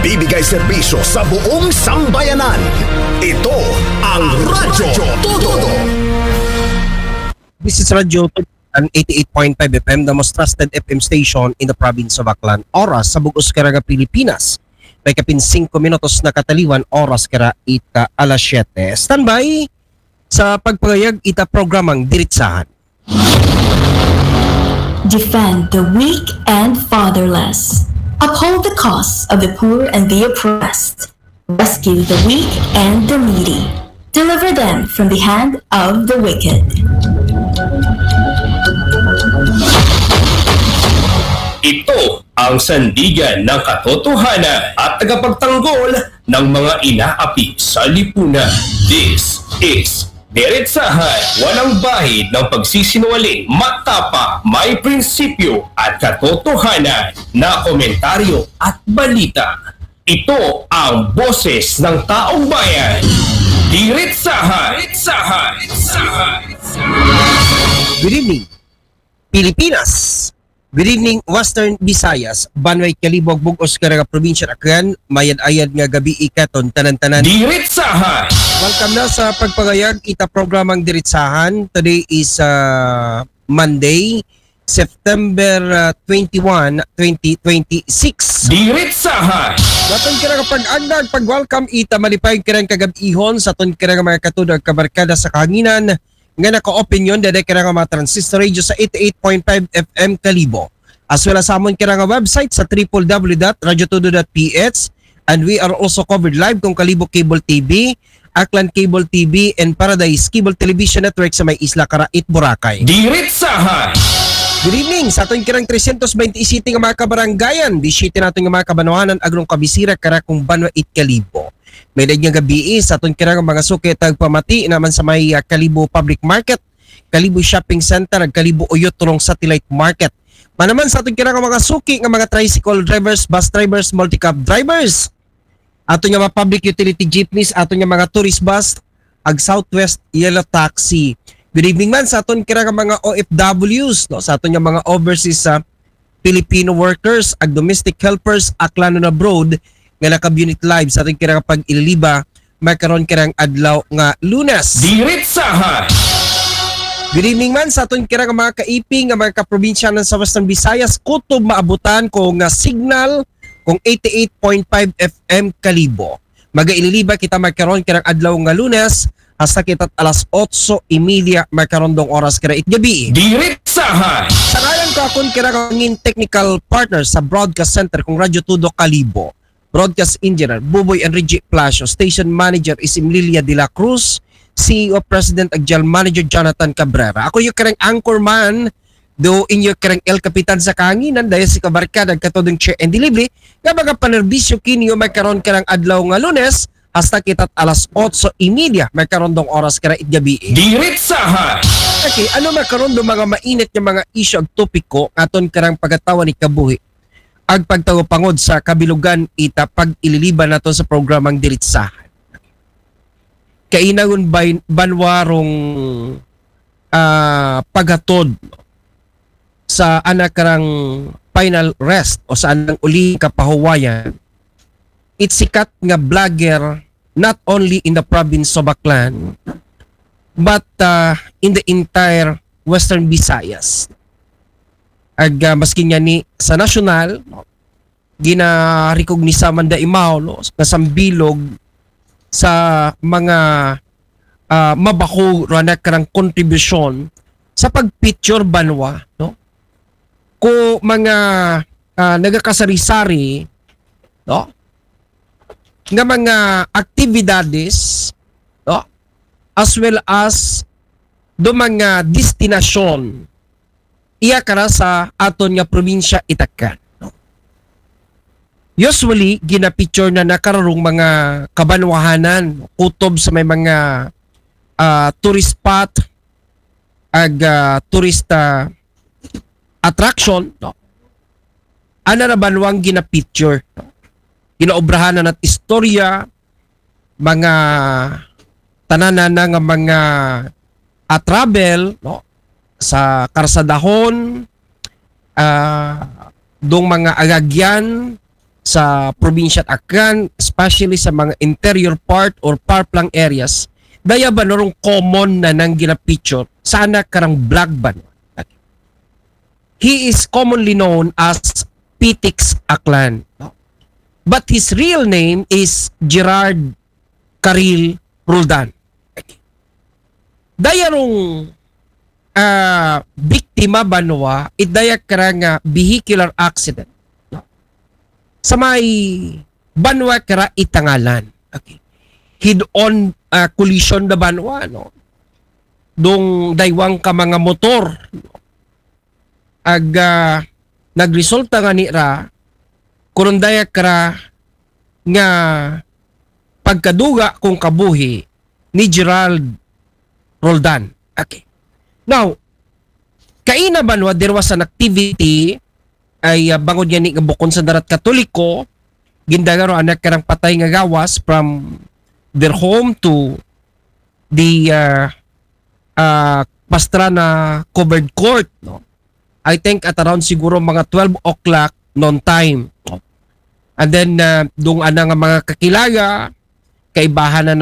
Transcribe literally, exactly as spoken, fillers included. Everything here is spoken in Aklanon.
Bibigay serbisyo sa buong sambayanan. Ito ang Radyo Todo. This is Radyo Todo, an eighty-eight point five F M, the most trusted F M station in the province of Aklan. Oras sa bug-os kara nga Pilipinas. May kapin singko minutos na kataliwan, oras kara ita alas siyete. Standby sa pagpangayag ita programang Diritsahan. Defend the weak and fatherless. Uphold the cause of the poor and the oppressed. Rescue the weak and the needy. Deliver them from the hand of the wicked. Ito ang sandigan ng katotohanan at tagapagtanggol ng mga inaapi sa lipunan. This is Diretsahan, walang bahid ng pagsisinungaling, matapang, may prinsipyo at katotohanan na komentaryo at balita. Ito ang boses ng taong bayan. Diretsahan. Diretsahan. Diretsahan. Good evening, Pilipinas. Good evening, Western Visayas. Banwa it Kalibo, bug-os kara nga probinsya, Aklan. Mayad-ayad nga gabii katon tanan-tanan. Diretsahan. Welcome na sa pagpangayag ita programang Diretsahan. Today is uh, Monday, September uh, twenty-one, twenty twenty-six. Diretsahan. Sa aton kara nga pag-agda, pag-welcome ita malipay karang kagab-ihon sa aton kara nga mga katudo ug kabarkada sa kahanginan nga naka-open yon dede kara nga mga transistor radio sa eighty-eight point five F M Kalibo. As well as sa amon kara nga website sa triple W dot radyo todo dot P H, and we are also covered live kung Kalibo Cable T V, Aklan Cable T V, and Paradise Cable Television Network sa may Isla Cara it Boracay. Diretsahan. Good evening sa aton kirang tresyentos baynte siyete nga mga kabarangayan, disiyete naton nga mga kabanwahanan, agrong kabisira kara kung banwa it Kalibo. May daig nga gabii sa aton kirang mga suki tagpamati naman sa may uh, Kalibo Public Market, Kalibo Shopping Center, ug Kalibo Uyot Tulong Satellite Market. Manaman sa aton kirang mga suki nga mga tricycle drivers, bus drivers, multicab drivers, aton nga mga public utility jeepneys, aton nga mga tourist bus, ag Southwest Yellow Taxi. Good evening man sa aton kira nga mga O F Ws, no, sa aton nga mga overseas sa Filipino workers, ag domestic helpers, Aklan and abroad, nga nakabunit live sa aton kira nga pag-ililiba, makaron kirang adlaw nga Lunes. Diretsahan. Good evening man sa aton kira nga mga kaiping nga mga kaprobinsyanan sa Western Visayas, kutob maabutan ko nga signal kung eighty-eight point five F M Kalibo. Magaililiba kita makaron kirang adlaw nga Lunes, hasta kita't alas otso y media makaron dong oras kira it gabii. Diretsahan. Sa ngalan ko akon kira nga ngin technical partner sa Broadcast Center kung Radyo Todo Kalibo, Broadcast Engineer Buboy Enrique Plasio, Station Manager is Imlilia de la Cruz, C E O President ag General Manager Jonathan Cabrera. Ako yung kirang anchorman do inyo kirang El Capitan sa kahanginan, dahil si kabarkada ag katodong chair and delivery nga mga panerbisyo kinyo makaron kirang adlaw nga Lunes, hasta kita't alas otso y media makaron dong oras kira it gabii. Diretsahan. Okay, ano makaron do mga mainit nga mga isyu ag topiko nga aton kirang pagatawan ikabuhi ag pagtawpangod sa kabilugan ita pag-ililiban nato sa programang Diretsahan. Kainangon bay banwa rong ah, paghatod sa anak rang final rest o sa anang uling kapahuwayan, it sikat nga vlogger not only in the province of Aklan but uh, in the entire Western Visayas. Ag uh, maski nga ni sa nasyonal, ginarikognisa man da imaw, no, nga sambilog sa mga uh, mabaho ranak karang kontribusyon sa pagpicture banwa, no? Ko mga uh, nagakasari-sari, no? Nga mga aktibidades, no? As well as do mga destinasyon iya kara sa aton nga probinsya itakan. Usually, ginapicture na nakararong mga kabanwahanan, kutob sa may mga uh, tourist spot, ag uh, tourist uh, attraction, no? Ana na banwang ginapicture, no? Ginaobrahan na nat istorya, mga tananan na nga mga uh, travel, no? Sa karsadahon, uh, dong mga agagyan, sa probinsya at Aklan, especially sa mga interior part or parplang areas, daya ba narong common na nang gina-feature sana karang vlog ba? He is commonly known as Pitix Aklan. But his real name is Gerard Karil Roldan. Daya rong ah, biktima banwa, it daya kara nga vehicular accident. Sa may banwa kara Itangalan. Okay. Head-on ah, collision da banwa, no? Dong daywang ka mga motor. Ag ah, nagresulta nga nira, kurundaya kara nga pagkaduga kung kabuhi ni Gerald Roldan. Okay. Now, kaina banwa there was an activity ay ah, bangod nga ni nga bukon sa darat Katoliko, gindagaro anak karang patay nga gawas from their home to the ah, ah, Pastrana covered court, no? I think at around siguro mga twelve o'clock noon time. No? And then, ah, dung ana nga mga kakilala, kaibahan na